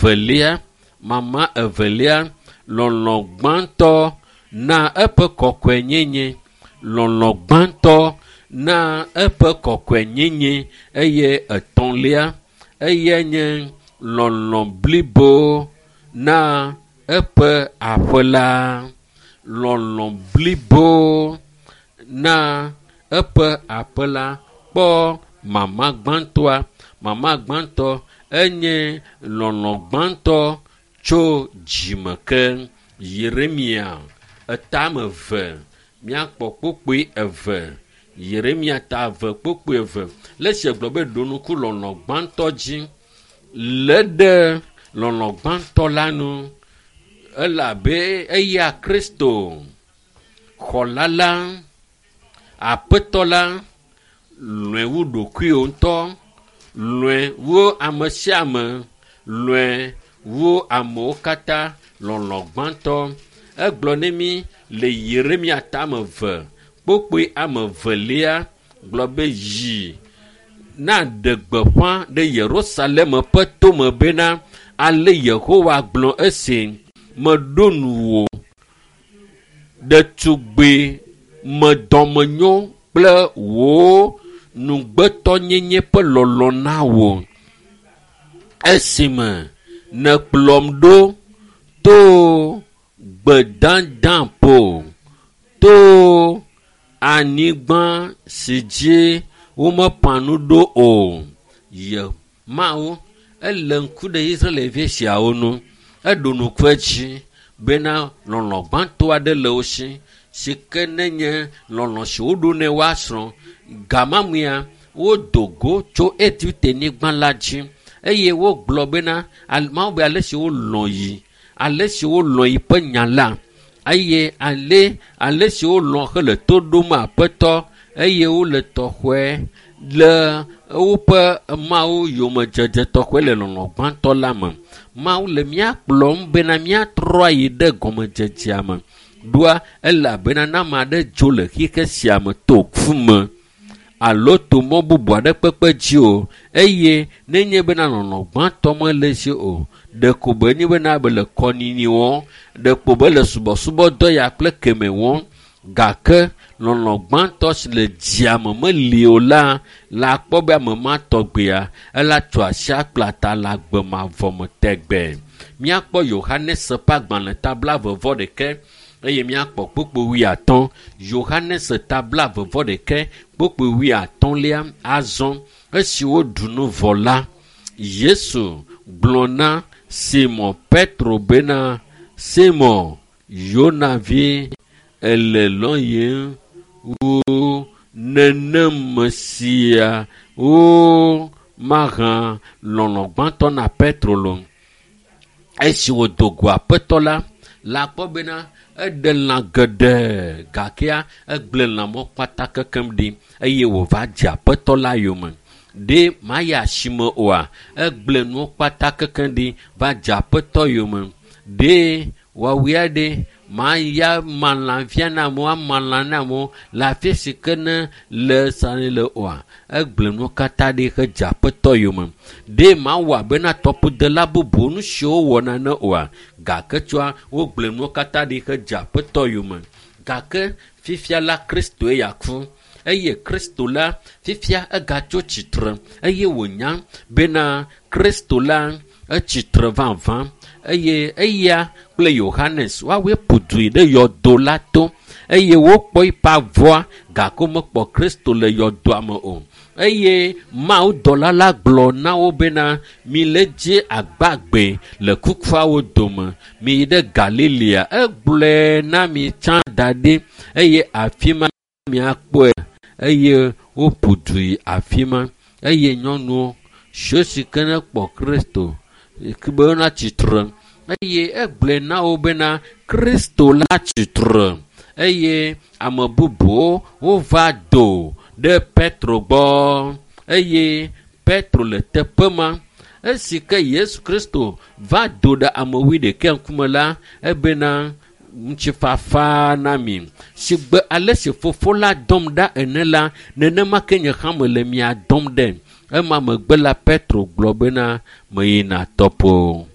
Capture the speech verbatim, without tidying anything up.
Evelia, mama evelia, lɔlɔ̃ gbãtɔ na eƒe kɔkɔenyenye. Lɔlɔ̃ gbãtɔ na eƒe kɔkɔenyenye eye etɔ̃lia eyae nye lɔlɔ̃ blibo na eƒe aƒe la. Lɔlɔ̃ blibo na eƒe aƒe la kpɔ mama gbãtɔa. Mama gbãtɔ enye lɔlɔ̃ gbãtɔ tso dzime ke. Yeremia etame eve míakpɔ kpukpui eve. Yeremia ta eve kpukpui eve. Le esi gblɔ be ɖo ŋku lɔlɔ̃ gbãtɔ dzi. Lé ɖe lɔlɔ̃ gbãtɔ la nu elabe eya Kristo xɔla la, aƒetɔ la, lɔ̃e wu ɖokuiwò ŋutɔ, lɔ̃e wu ame sia ame, lɔ̃e wu amewo katã, lɔlɔ̃ gbãtɔ. Egblɔ ne mí le Yeremia tame eve kpukpui ame evelia gblɔ be yi naɖe gbeƒã ɖe Yerusalem ƒe tome bena ale Yehowa gblɔ esi meɖo nuwò ɖetugbi me dɔmenyo kple wò nugbetɔnyenye ƒe lɔlɔ̃ na wò esime nèkplɔm ɖo to gbedadaƒo to anyigba si dzi womeƒã nu ɖo o. Ye Mawu ele ŋku ɖe Israelvi siawo ŋu. Eɖo ŋku edzi bena lɔlɔ̃ gbãtɔ aɖe le wo si si ke nenye lɔlɔ̃ si woɖo ne woasrɔ̃. Gamamea wodo go tso Egipte nyigba la dzi eye wogblɔ bena Mawu be ale si wolɔ̃ yi, ale si wolɔ̃ yi ƒe nya la eye ale ale si wolɔ̃ hele to ɖom aƒetɔ eye wole tɔxɔe le woƒe Mawu yomedzedze tɔxɔe le lɔlɔ̃ gbãtɔ la me. Mawu le mía kplɔm bena míatrɔ ayi ɖe gɔmedzedzea me. Ɖoa elabena ne ame aɖe dzo le xixe sia me to ku me alo to mɔ bubu aɖe kpekpe dzi o eye nenye bena lɔlɔ̃ gbãtɔ mele esi o, ɖeko be nye bena be le kɔnyinyi wɔm, ɖeko be le subɔsubɔdɔ ya kple keme wɔm gake lɔlɔ̃ gbãtɔ si le dzia me meli o la, la akpɔ be ame ma tɔgbea ela tso asi akpla ta le agbe mavɔ me tegbe. Míakpɔ Yohanes ƒe agbalẽ ta blaeve vɔ ɖeke eye míakpɔ kpukpui wuiatɔ̃. Yohanes ta blaeve vɔ ɖeke kpukpui wuiatɔ̃lia azɔ esi woɖu nu vɔ la, Yesu gblɔ na Simɔn Petro bena, Simɔn, Yona vi, ele lɔ̃yem wu nenem sia wo mahã lɔlɔ̃ gbãtɔ na Petro lo. Esi wòdo go aƒetɔ la, la kpɔ bena eɖe lã geɖe gakea egblẽ lãmɔ kpata kekem ɖi eye wòva dze aƒetɔ la yome. Ɖe mayi asime oa, egblẽ nuwo kpata kekem ɖi va dze aƒetɔ yome. Ɖe woawoea ɖe maya ma lã fia na amewo, ama lã na amewo le afi si ke ne le sani le oa, egblẽ nuwo katã ɖi hedze aƒetɔ yome. Ɖe mawɔ abena tɔƒodela bubuwo nu siwo wowɔna ne oa, gake tsɔa wogblẽ nuwo katã ɖi hedze aƒetɔ yome. Gake fifia la Kristoe ya ku eye Kristo la fifia egatso tsitre eye wònya bena Kristo la etsitre vavã eye eya kple Yohanes woawoe ƒo du yi ɖe yɔdo la to eye wokpɔ eƒe avɔa gake womekpɔ Kristo le yɔdoa me o. Eye Mawudɔla la gblɔ na wo bena mile dze agbagbe le kukuawo dome miyi ɖe Galilea. Egblɔe na mi tsã da ɖi eye afi ma miakpɔe eye woƒo du yi afi ma eye nyɔnuwo siwo si ke ne kpɔ Kristo be wona tsitre eye egblɔe na wo bena Kristo la tsitre eye ame bubuwo wova do ɖe Petro gbɔ eye Petro le teƒe ma. Esi ke Yesu Kristo va do ɖe ame wuiɖekɛ ŋkume la, ebena ŋutifafa na mi. Sigbe ale si fofo la dɔm ɖa ene la, nenema ke nye hã mele mia dɔm ɖe. Ema megbe la Petro gblɔ bena meyina tɔƒo.